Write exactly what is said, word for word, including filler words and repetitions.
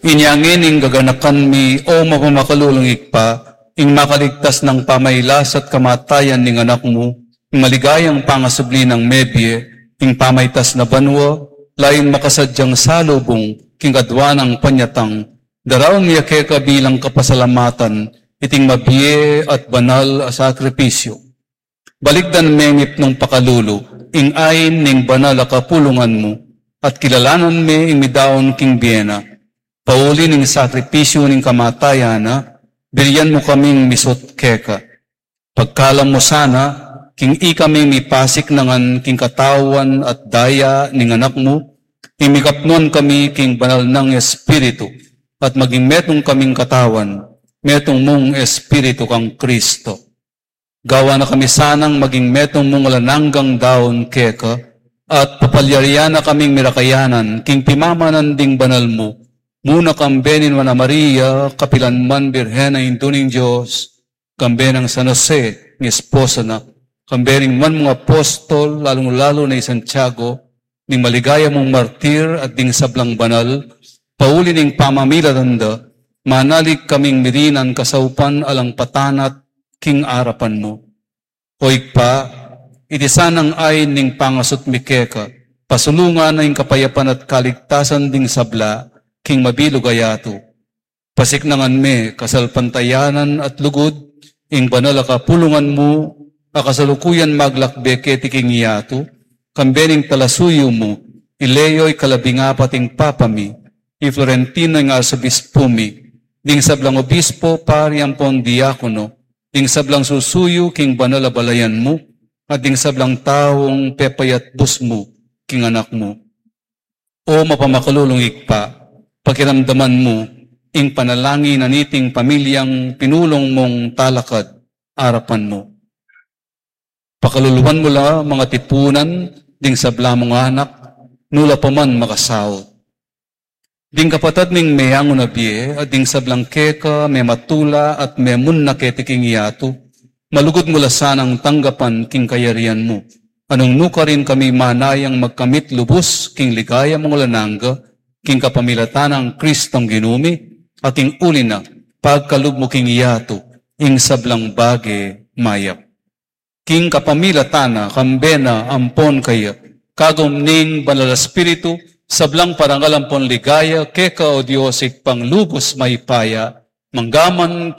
Inya ngeni gaganakan mi, o mapamakalulung Ibpa, ing makaligtas nang pamailas at kamatayan ning Anak mu, ing maligayang pangasubli nang mebie, ing pamaitas na banua, lalu ing makasadyang salubung king kadua nang panyatang, daraun mi ya keka bilang kapasalamatan iting mabie at banal a sakripisyu. Balikdan me ning pakalulu ing ain ning banal a kapulungan mu, at kilalanan me ing midaun king bie na. Pauli ning sakripisyu ning kamatayan na, birian mu kaming misut keka. Pagkalam mu sana, king ikami mipasiknangan king katawan at daya ning Anak mu, ing mikapnuan kami king banal nang Espiritu, at maging metung kaming katawan, metung mung Espiritu kang Kristo. Gawa na kami sanang maging metung mung alang anggang daun keka, at papalyarian na kaming mirakayanan king pimamanan ding banal mu, muna kambe ning Nuan a Maria, kapilan man Birhen a Indu ning Dios, kambe nang San Jose, ing esposo na, kambe ring nuan mung apostol, lalung-lalu na i Santiago, ding maligaya mung martir at ding sablang banal, pauli ning pamamilatan da, manalig kaming mirinan kasaupan alang patanat king arapan mu. O Ibpa, iti sanang ain ning pangasut mi keka, pasulungan na ing kapayapan at kaligtasan ding sabla king mabilug a yatu. Pasiknangan me kasalpantayanan at lugud ing banal a kapulungan mu, a kasalukuyan maglakbe keti king yatu, kambe ning talasuyu mu, i Leo ing kalabing apat ing Papa mi, i Florentino ing Arsobispu mi, ding sablang obispo, pari ampon diakono, ding sablang susuyu king banal a balayan mu, at ding sablang taung pepayatbus mu king Anak mu. O mapamakalulung Ibpa, pakiramdaman mu ing panalangin na niting pamilyang pinulung mung talakad arapan mu. Pakaluluan mu la mangatipunan ding sabla mung anak, nu la pa man makasaut. Ding kapatad ming meangun a bie, at ding sablang keka mematula at memunna keti king yatu, malugud mu la sanang tanggapan king kayarian mu. Nung nukarin kami manayang magkamit lubus king ligaya mung alang angga, king kapamilatan nang Kristong Ginu mi, at king uli na, pagkalub mu king yatu ing sablang bage mayap. King kapamilatan na, kambe na, ampon kaya, kagum ning Banal a Espiritu, sablang parangal ampon ligaya keka, o Dios, Ibpang lubus mayupaya, mangga man